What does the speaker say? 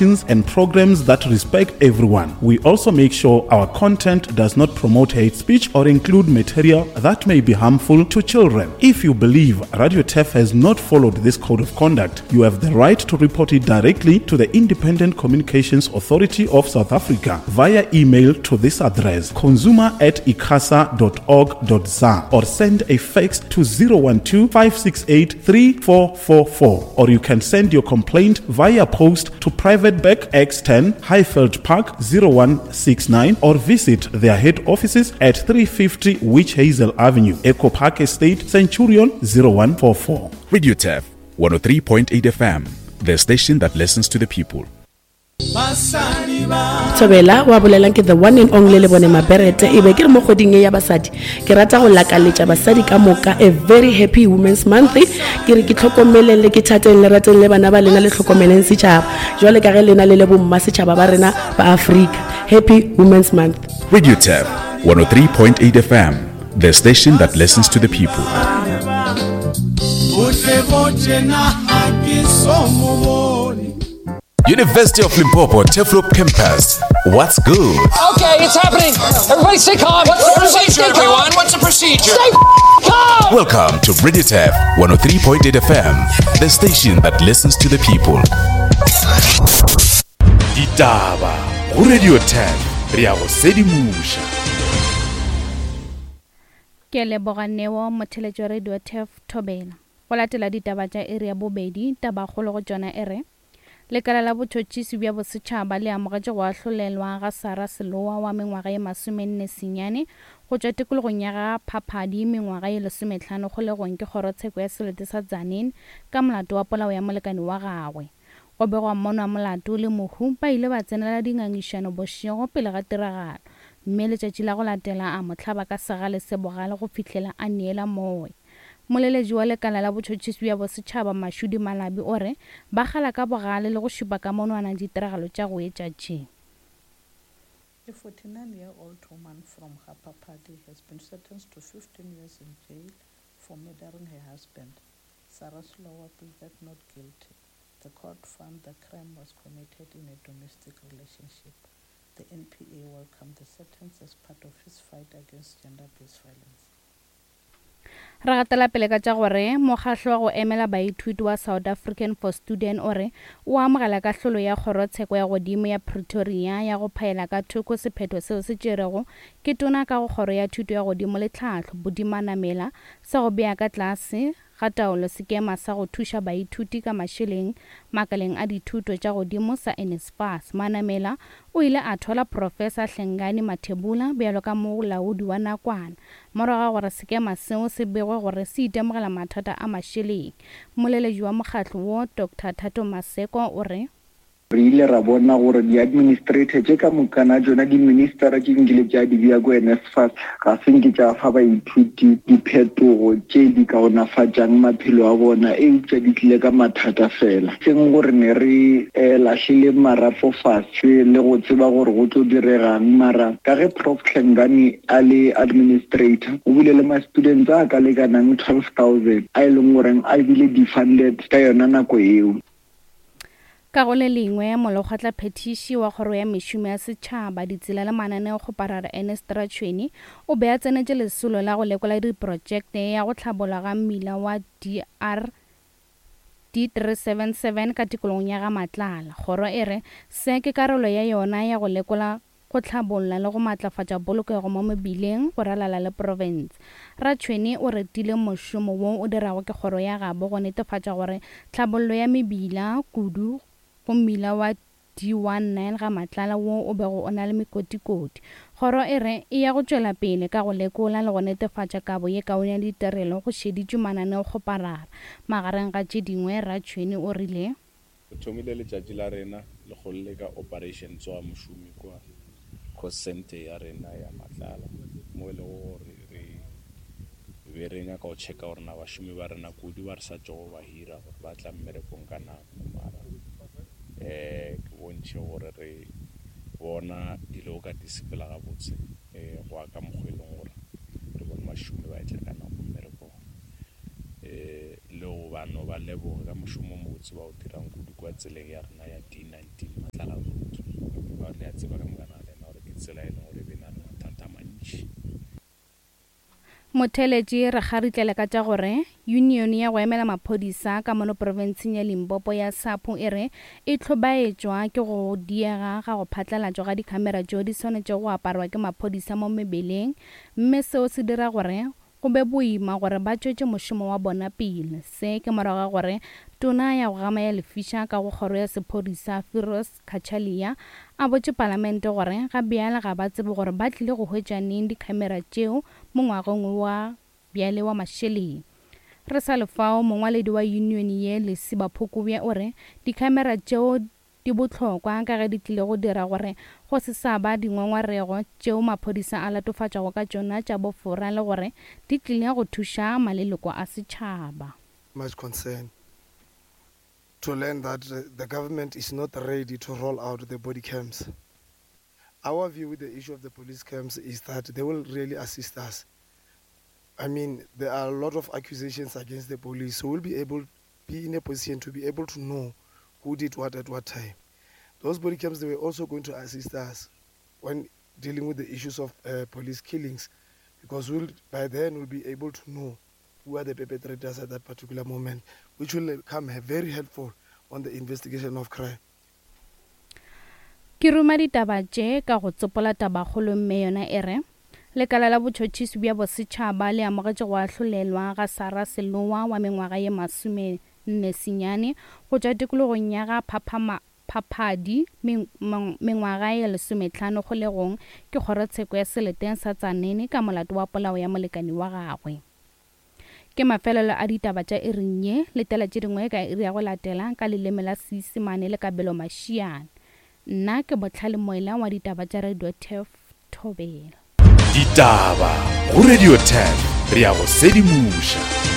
And programs that respect everyone. We also make sure our content does not promote hate speech or include material that may be harmful to children. If you believe Radio Tef has not followed this code of conduct, you have the right to report it directly to the Independent Communications Authority of South Africa via email to this address consumer at icasa.org.za or send a fax to 012 568 3444 or you can send your complaint via post to Private Bank X10 Highveld Park 0169 or visit their head offices at 350 Witch Hazel Avenue, Echo Park Estate, Centurion 0144. Radio Turf 103.8 FM, the station that listens to the people. Thobela wa bolelang ke the one and only le bone maberete e be ke re mo kgweding e ya basadi ke rata go lakaletša basadi ka moka a very happy women's month ke re ke tlhokomeleng le ke thateng le rateng le bana ba lena le tlhokomeleng setšhaba jwale ka ge lena le le bomma setšhaba ba rena ba afrika happy women's month Radio Tap 103.8 FM, the station that listens to the people. University of Limpopo Turfloop Campus. What's good? Okay, it's happening. Everybody stay calm. What's the Everybody procedure, stay calm. everyone? What's the procedure? Stay calm. Welcome to Radio Tap 103.8 FM, the station that listens to the people. Ditaba go Radio 10 re a go sedimoša. Ke leboga Neo motheletši wa Radio Turf Thobela. Go latela ditaba tša iri ya bobedi, tabakgolo go tšona e re, Lekala la Botšhotšhisi bja Bosetšhaba le amogetše go ahlolelwa ga Sarah Selowa wa mengwaga ye masomenne senyane go tšwa tikologong ya ga Phaphadi mengwaga ye lesomehlano kgolegong ke kgorotsheko ya selete sa Tzaneen ka molato wa polao ya molekane wa gagwe. Go begwa mmonwa molato le mohu ba ile ba tsenela dingangišano bošego pele ga tiragalo mme letšatši la go latela a mo hlaba ka segale se bogale go fihlela a neela moya. Moleletši wa lekala la botšhotšhisi bja bosetšhaba Mashudi Malabi o re ba kgala ka bogale le go šupa ka monwana ditiragalo tša go etša tše. A 49-year-old woman from Ga-Phaphadi has been sentenced to 15 years in jail for murdering her husband. Sarah Slowa pleaded not guilty. The court found the crime was committed in a domestic relationship. The NPA welcomed the sentence as part of its fight against gender-based violence. Re gatela pele ka tša gore mokgahlo wa go emela baithuti wa South African for Student o re o amogela kahlolo ya Kgorotsheko ya Godimo ya Pretoria ya go phaela ka thoko sephetho seo se tšerego ke tona ka go Kgoro ya Thuto ya Godimo le Tlhahlo Buti Manamela sa go bea ka tlase ga taolo sekema sa go thuša baithuti ka mašeleng makaleng a dithuto tša godimo sa NSFAS. Manamela o ile a thwala Profesa Hlengani Mathebula bjalo ka molaodi wa nakwana morago ga gore sekema seo se begwe gore se itemogela mathata a mašeleng. Moleletši wa mokgatlo wo, Doctor Thato Maseko o re. Re ile ra bona gore di-administrator tše ka mokana tšona, di-ministera tše nkile tša di bea ko NSFAS, ga se nke tša fa baithuti diphetogo tše di kaonafatšang maphelo a bona, eupša di tlile ka mathata fela. Seng gore ne re lahlile marapo fase le go tseba gore go tlo diregang, mara ka ge Prof Hlengani a le administrator, o bile le ma-students a ka lekanang 12,000 a e leng goreng a bile defunded ka yona nako eo. Ka go le lengwe, molekgotlaphethiši wa Kgoro ya Mešomo ya Setšhaba, Ditsela le Mananeokgoparara Ernest Ratšhweni o be a tsenetše lesolo la go lekola diprotšekte ya go hlabolwa ga mmila wa DR D377 ka tikologong ya Ga-Matlala. Kgoro e re se ke karolo ya yona ya go lekola go hlabolla le go matlafatša polokego mo mebileng go ralala le profense. Ratšhwene o retile mošomo wo o dirago ke kgoro ya gabo go netefatša gore tlhabollo ya mebila, kudu go mmila wa D19 ga Matlala wo o bego o na le mekotikoti. Kgoro e re e ya go tšwela pele ka go lekola le go netefatša kabo ye kaone ya ditirelo go šeditšwe mananeokgoparara. Magareng ga tše dingwe, Ratšhwene o rile. Re thomile letšatši la rena lekgolo le ka Operation Tsoga Mošomi kua Cost Centre ya rena ya Matlala mo e lego gore re be re nyaka go checka gore na bašomi ba rena kudu ba re sa tšogo ba hira gore ba tla mmerekong ka nako mara um ke bontšhe gore re bona dilo ka di sepela gabotse um go ya ka mokgwa e leng gore re bone bašomi ba etla ka nako mmerekong. Le go ba no ba leboge ka mošomo o mobotse ba o dirang kudu. kua tseleng ya rena ya D19 Matlala Road. Ka gore le a tseba ka moka ga lena gore ke tsela e leng gore e be na le mathata a mantši. Motheeletši re kgaritlele ka tša gore Yunione ya go emela maphodisa ka mono profenseng ya Limpopo ya SAPU e re e hlobaetšwa ke go diega ga go phatlalatšwa ga dikhamera tšeo di swanetšego go aparwa ke maphodisa mo mebeleng mme seo se dira gore go be boima gore ba tšwetše mošomo wa bona pele. Se ke morago ga gore Tona ya go gama ya lefiša ka go kgoro ya sephodisa Firoz Cachalia a botše palamente gore ga bjale ga ba tsebe gore ba tlile go hwetša neng dikhamera tšeo mo ngwageng wa bjale wa mašeleng. Re sa le fao, mongwaledi wa yunione ye Lesiba Phokobye o re dikhamera tšeo di bohlokwa ka ge di tlile go dira gore go se sa ba dingongorego tšeo maphodisa a latofatšwago ka tšona tša bofora le gore di tlile go thuša maleloko a setšhaba. Much concern to learn that the government is not ready to roll out the body cams. Our view with the issue of the police cams is that they will really assist us. I mean, there are a lot of accusations against the police, so we'll be able be in a position to be able to know who did what at what time. Those body cams, they were also going to assist us when dealing with the issues of uh, police killings, because we'll, by then we'll be able to know who are the perpetrators at that particular moment, which will come very helpful on the investigation of crime. Ke ruma ditaba tše ka go tsopola tabakgolo mme yona e re, Lekala la Botšhotšhisi bja Bosetšhaba le amogetše go ahlolelwa ga Sarah Selowa wa mengwaga ye 44 go tšwa tikologong ya ga Phaphama Phaphadi mengwaga ye 15 kgolegong ke kgorotsheko ya seleteng sa Tzaneen ka molato wa polao ya molekani wa gagwe. Ke mafelelo a ditaba tša iring ye. Letela tše dingwe ka iri ya go latela ka leleme la Seisemane le Kabelo Mashiane. Nna ke Bohlale Moela wa ditaba tša Radio Turf Thobela. Ditaba go Radio Turf, re a go sedimoša.